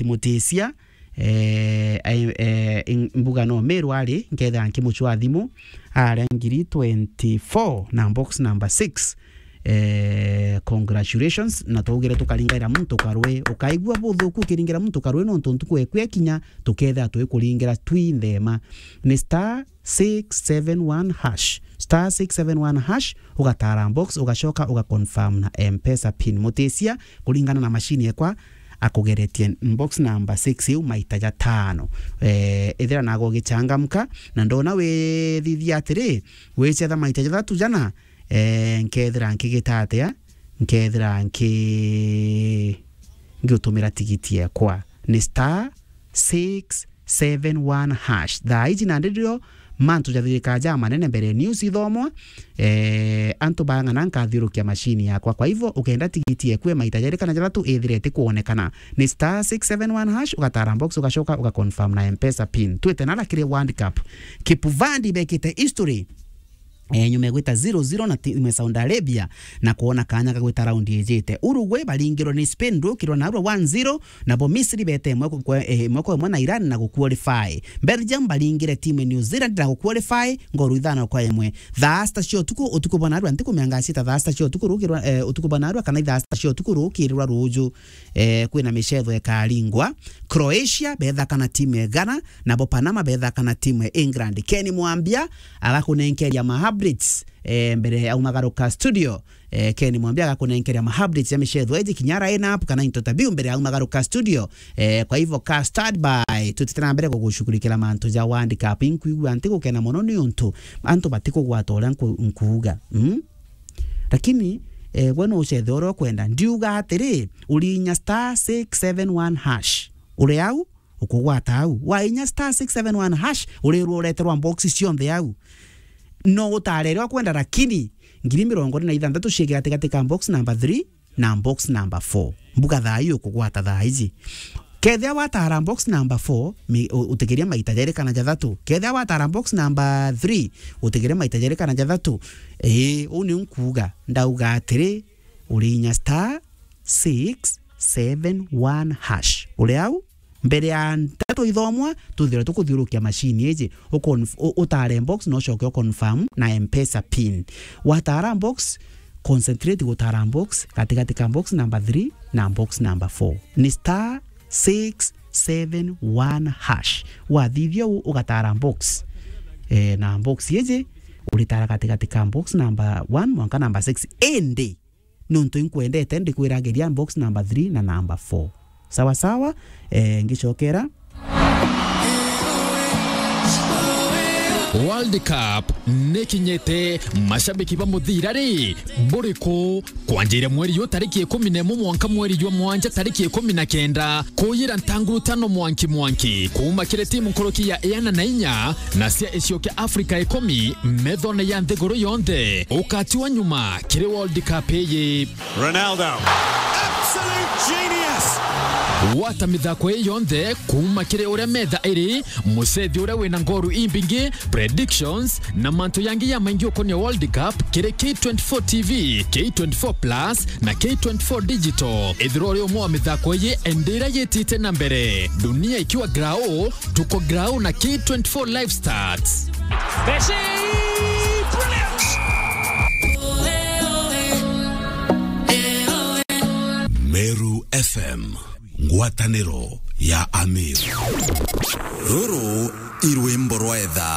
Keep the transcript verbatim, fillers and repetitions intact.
Mutisia, eh, ai-, eh, in-, mbuga no Meru ari, nkethira nkimucwa thimu, aria ngiri twenty-four na box number six, eh, congratulations, na twaugire tukaringaira muntu karwe, ukaigua buthuku ukiringira muntu karwe, nontu ntuku eku ekinya, tukethira twikuringira twi nthema. Ni star six seven one hash. Star six seven one hash, ugatara box, ugacoka uga confirm na M-Pesa pin. Mutisia, kuringana na machine ekwa, akugeretie box number six iu maita jatano. Eh, ethira nago ugichangamka, na ndona withithia atiri, wicetha maita jathatu jana, eh, nkethira nkigita atia? Nkethira nki-, ngiutumira tigiti ekwa. Ni star six seven one hash. Thaa iji nandi rio mantu jathirika ja manene mbere news ithomwa, eh, antu bang'ana nkathiurukia machine yakwa. Kwa hivyo, ukenda tigiti ekue maita jeri kana jathatu ithire itikwonekana, ni star six seven one hash, ugatara box, ugacoka uga confirm na M-Pesa pin. Twite nara kiri World Cup. Kipuvandi bekite history. Eh, nyuma ya gwita zero zero na timu ya Saudi Arabia na kwona kanya ga gwita raundi ijite. Uruguay baringirwe ni Spain, ndukirwa narua one zero, nabo Misri bete imwe kwa, eh, imwe kwa imwe na Iran na guqualify. Belgium baringire timu ya New Zealand na guqualify, ngoru ithano kwa imwe. Thaa sita cia utuku, utuku bwa narua ntiku mianga sita, thaa sita cia utuku rukirwa, eh, utuku bwa narua kana thaa sita cia utuku rukirirwa ruju. Eh, kwina micetho ikaringwa. Croatia bethaka na timu ya Ghana, nabo Panama bethaka na timu ya England. Ken Mwambia agakunenkeria ma updates, eh, mbere aumagaruka studio. Eh, Ken Mwambia agakunenkeria ma updates ya micetho iji kinya line up kana into tabiu mbere aumagaruka studio. Eh, kwa hivyo ka stand by, tutite na mbere kugushughulikira mantu ja World Cup. Inkwigua nti gukena mono ni untu antu batikugwata uria nku-, nkuuga. Mm? Lakini, eh, we no ucethe uria ukwenda. Ndiuga atiri, urinya star six seven one hash. Uri au, ukugwata au. Wainya star six seven one hash, urirwa ureterwa box cionthe au. No utare iria ukwenda, lakini ngiri mirongo iri na ithanthatu ciige gatigati ka box number three na box number four. Mbuga thaa ii ukugwata thaa iji. Kethia watara box number four, mi-, u-, utikiria maita jeri kana jathatu. Kethia watara box number three, utikiria maita jeri kana jathatu. Ii, uu niu nkuuga. Ndauga atiri, urinya star six seven one hash. Uri au? Mbere ya nteto ithomwa, tuthire tukuthiurukia machine iji, uconf-, u-, utare box na ucoke uconfirm na M-Pesa pin. Watara box, concentrate gutara box gatigati ka box number three na box number four. Ni star six seven one hash. Wathithia uu ugatara box, eh, na box iji uritara gatigati ka box number one mwanka number six. Indi nontu inkwendete, ndikwiragiria box number three na number four. Sawa sawa, eh, ngicokera. World Cup nikinyite, mashabiki ba muthira ri, buriku? Kwanjiria mweri yu tariki ikumi na imwe mwanka mweri jwa mwanja tariki ikumi na kenda, kuyira ntanguru tano mwanki mwanki, kuuma kiri timu nkuruki ya iana na inya na cia icio kia Africa ikumi, methone ya nthiguru yonthe. Ukatiwa nyuma kiri World Cup iyi. Ronaldo. Absolute genius. Gwata mithako ii yonthe kuuma kiri uria metha iri, mucethi uria wina ngoru imbingi, predictions, na mantu yangi ya maingi ukonia World Cup kiri K twenty-four T V, K twenty-four Plus, na K twenty-four Digital. Ithirwa uri umwe wa mithako iyi, indi iria yitite na mbere. Dunia ikiwa grao, tuko grao na K twenty-four Live Stats. Messi! Brilliant! Meru F M, ngwataniro ya Amiru. Ruru i rwimbo rwa etha.